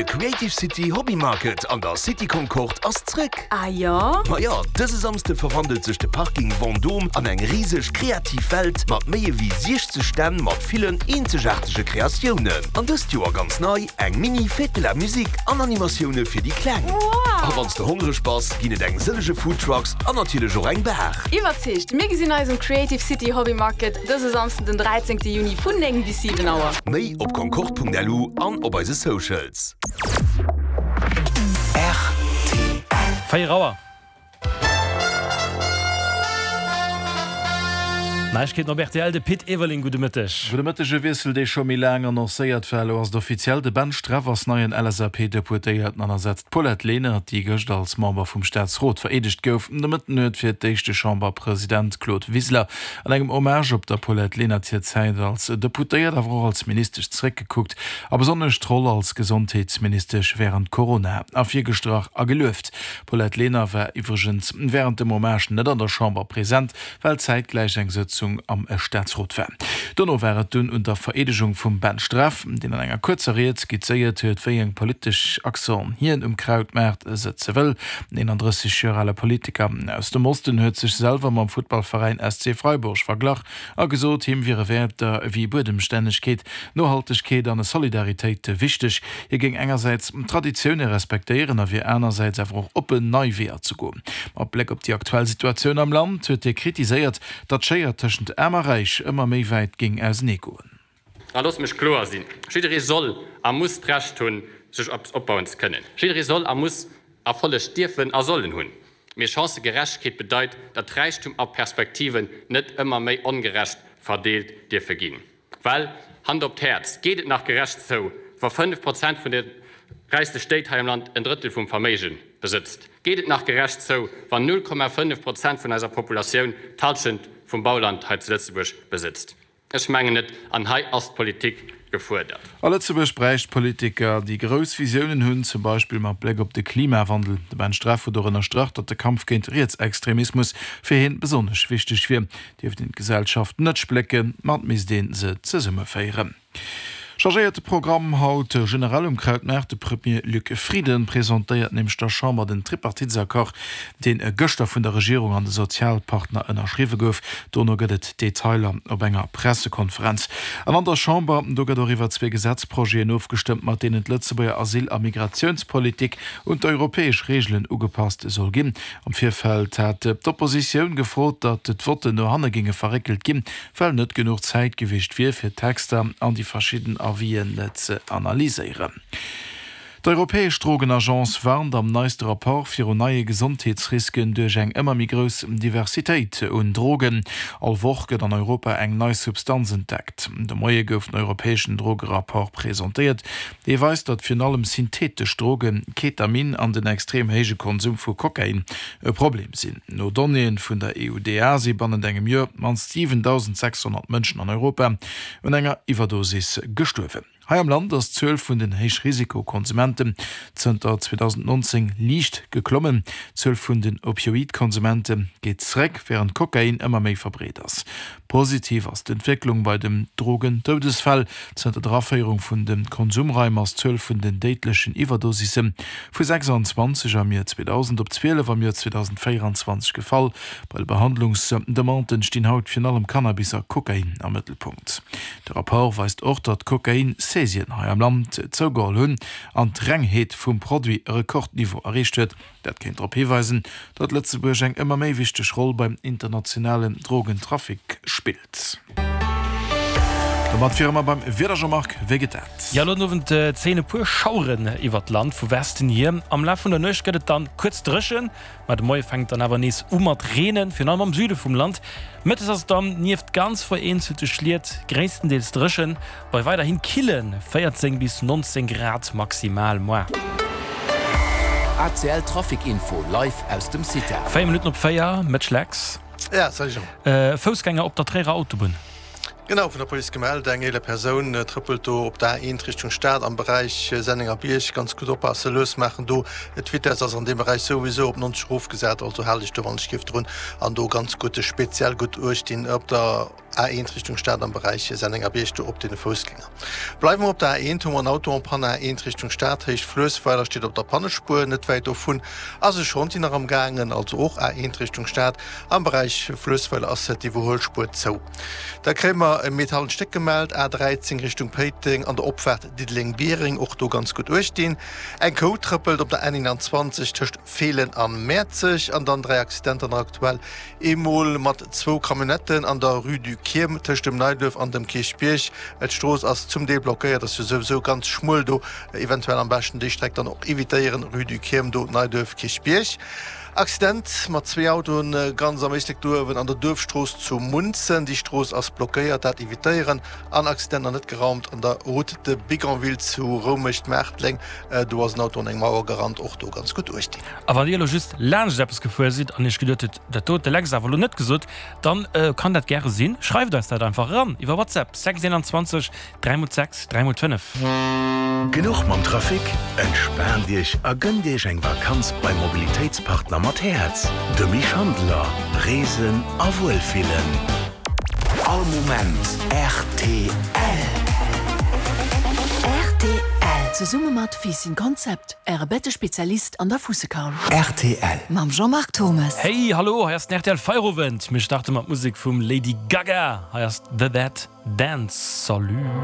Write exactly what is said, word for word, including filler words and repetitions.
De Creative City Hobby Market an der City Concorde ass zréck! Ah jo? Ma jo, dëse Samsde verwandelt sech de Parking Vendôme an eng riseg kreativ Welt mat méi ewéi siechzeg Stänn mat villen eenzegaartege Kreatiounen. An dëst Joer ganz nei, eng Mini Fête de la Musique an Animatioune fir déi Kleng. Wow! A wann s de hongreg bass, ginn et eng sëllege Foodtrucks an natierlech och eng Bar. Iwwerzeegt! Mir gesinn eis um Creative City Hobby Market dëse Samsden den dräizéngte Juni vun néng bis siwen Auer. Méi op concorde.lu an op eise Socials. Véier Auer. Neiegkeeten op rtl, de Pit Everling, gudde Mëtteg. Gudde Mëtteg. E Wiessel, dee scho méi laang annoncéiert war, elo ass et offiziell, De Ben Streff ass neien L S A P-Deputéierten an ersetzt d'Paulette Lenert, déi gëscht als Member vum Staatsrot vereedegt gouf. De Mëtten huet fir d'éischt de Chamberpresident Claude Wiseler an engem Hommage op der Paulette Lenert hir Zäit als Deputéiert, awer och als Ministesch zeréckgekuckt a besonnesch d'Roll als Gesondheetsministesch wärend Corona ervirgestrach a gelueft. D'Paulette Lenert war iwwregens wärend dem Hommage net an der Chamber present, well zäitgläich eng Sëtzung am Staatsrot war. Dono war et dunn un der Vereedegung vum Ben Streff, deen an enger kuerzer Ried skizzéiert huet, wéi eng politesch Accenten hien um Krautmaart sëtze wëll. Den eenandrësseg Joer ale Politiker aus dem Osten huet sech selwer mam Futtballveräin S C Freiburg verglach a gesot, him wiere Wäerter wéi Buedemstännegkeet, Nohaltegkeet an Solidaritéit wichteg. Hie géing engersäits Traditioune respektéieren a wier anersäits awer och oppen, nei Weeër ze goen. Mat Bléck op déi aktuell Situatioun am Land huet hie kritiséiert, datt d'Schéier tëschent Aarm a Räich ëmmer méi wäit géing ausenee goen. A loosst mech kloer sinn, Jidderee soll a muss d'Recht hunn, sech eppes opbauen ze kënnen. Jidderee soll a muss Erfolleg dierfen a sollen hunn. Mee Chancëgerechtegkeet bedeit, datt Räichtum a Perspektiven net ëmmer méi ongerecht verdeelt dierfe ginn. Well, Hand op d'Häerz, geet et nach gerecht zou, wa fënnef Prozent vun de räichste Stéit hei am Land en Drëttel vum Verméige besëtzt? Geet et nach gerecht zou, wann null Komma fënnef Prozent vun eiser Populatioun d'Hallschent vum Bauland hei zu Lëtzebuerg besëtzt? Ech mengen net. An hei ass d'Politik gefuerdert. A Lëtzebuerg bräicht Politiker, déi grouss Visiounen hunn, zum Beispill mat Bléck op de Klimawandel. De Ben Streff huet och ënnerstrach, datt de Kampf géint Rietsextremismus fir hien besonnesch wichteg wier. Dierft een d'Gesellschaft net splécken, ma et misst ee se zesummeféieren. Chargéierte Programm haut generell um Krautmaart, De Premier Luc Frieden presentéiert nämlech der Chamber den Tripartitesaccord, deen gëschter vun der Regierung an de Sozialpartner ënnerschriwwe gouf. Dono gëtt et Detailer op enger Pressekonferenz. An an der Chamber, do gëtt och iwwer zwee Gesetzprojeten ofgestëmmt, mat deenen d'Lëtzebuerger Asyl a Migratiounspolitik un d'europäesch Reegelen ugepasst soll ginn. Am Virfeld hat d'Oppositioun gefrot, datt d'Votten no hanne géinge verréckelt ginn, well net genuch Zäit gewiescht wier, fir d'Texter an déi verschidden Avisen ze analyséieren. D'Europäesch Drogenagence warnt am neiste Rapport virun neie Gesondheetsrisken duerch eng ëmmer méi grouss Diversitéit un Drogen. All Woch gëtt an Europa eng nei Substanz entdeckt. De Moie gouf den europäeschen Drogerapport presentéiert. Dee weist, datt virun allem syntheetesch Drogen, Ketamin an den extrem héije Konsum vu Kokain e Problem sinn. No Donnéeë vun der E U D A si bannent engem Joer op d'mannst siwendausend sechshonnert Mënschen an Europa un enger Iwwerdosis gestuerwen. Hei am Land ass d'Zuel vun den Héichrisikokonsumenten zënter zweedausendnonzéng liicht geklommen. D'Zuel vun den Opioid-Konsumente geet zeréck, wärend Kokain ëmmer méi verbreet ass. Positiv ass d'Entwécklung bei den Drogendoudesfäll. Zënter der Aféierung vun de Konsumraim ass d'Zuel vun den déidlechen Iwwerdosisse vu sechsanzwanzeg am Joer zweedausend op zwielef am Joer zweedausendvéieranzwanzeg gefall. Bei de Behandlungsdemanden stinn haut virun allem Cannabis a Kokain am Mëttelpunkt. De Rapport weist och, datt d'Kokain-Saisien hei am Land zougeholl hunn an d'Rengheet vum Produit e Rekordniveau erreecht huet. Dat kéint drop hiweisen, datt Lëtzebuerg eng ëmmer méi wichteg Roll beim internationalen Drogentrafic spillt. Domat wiere mer beim Wieder, Jean-Marc, wéi geet dat? Jo, elo den Owend zéien e puer Schaueren iwwert d'Land vu Westen hier. Am Laf vun der Nuecht gëtt et dann kuerz dréchen, ma de Moie fänkt dann awer nees u mat reenen, virun allem am Süde vum Land. Mëttes ass et dann nieft ganz vereenzelte Schliet gréisstendeels dréchen, bei weiderhin kille véierzéng bis nonzéng Grad maximal. Moar. A C L Trafic Info live aus dem CITA. Véier Minutten op véier, Mitch Lex. Ja, salut Jean. Foussgänger op der Tréierer Autobunn. Genau, vun der Police gemellt, eng eeler Persoun trëppelt do op der A eent Richtung Stad am Beräich Sennengerbierg. Ganz gutt oppassen, lues maachen do, d'Vitesse ass an deem Beräich souwisou op neunzeg erofgesat, also hal dech do wann ech giff drun an do ganz gutt, speziell gutt uecht dinn op der A eent Richtung Stad am Beräich Sennengerbierg do op deene Foussgänger. Bleiwe mer op der A eent, hu mer en Auto en panne A eent Richtung Stad, Héicht Fluessweiler, steet op der Pannespuer. Net wäit dovun ass e Chantier nach am gaangen, also och A eent Richtung Stad am Beräich Fluessweiler ass d'Iwwerhuelspuer zou. Da kréie mer e metallent Stéck gemellt, A dräizéng Richtung Péiteng an der Opfaart Diddeleng-Biereng, och do ganz gutt uecht dinn. Eng Kou trëppelt op der N eenanzwanzeg tëscht Feelen a Mäerzeg an dann dräi Accidenter nach aktuell, eemol mat zwou Camionnetten an der Rue du Kierm tëscht dem Neiduerf an dem Kierchbierg. D'Strooss ass zum Deel blockéiert, ass jo souwisou ganz schmuel do. Eventuell am beschten déi Streck dann och evitéieren, Rue du Kierm do, Neiduerf, Kierchbierg. Accident mat zwee Autoen ganz am Éislek do uewen an der Duerfstrooss zu Munzen. Déi Strooss ass blockéiert, dat evitéieren. An Accident nach net geraumt an der Route de Bigonville zu Roumecht-Maartleng. Do ass en Auto an eng Mauer gerannt, och do ganz gutt uecht dinn. A wann Dir elo just laanscht eppes gefuer sidd an Iech geduet hutt, dat do huet de Lex awer elo net gesot, dann kann dat gäre sinn. Schreift eis dat einfach eran iwwer WhatsApp, sechs eenanzwanzeg dräi mol sechs dräi mol fënnef. Genuch mam Trafic? Entspaant Iech a gënnt Iech eng Vakanz beim Mobilitéitspartner mat Häerz, de Misch Handeler. Reesen a Wuelfillen. All Moment rtl. Rtl. Zesumme mat Fiisschen Concept, Äre Bettespezialist an der Fuussekaul. Rtl. Mam Jean-Marc Thommes. Hey, hallo, hei ass den rtl Feierowend. Mir starte mat Musek vum Lady Gaga. Hei ass The Dead Dance. Salut.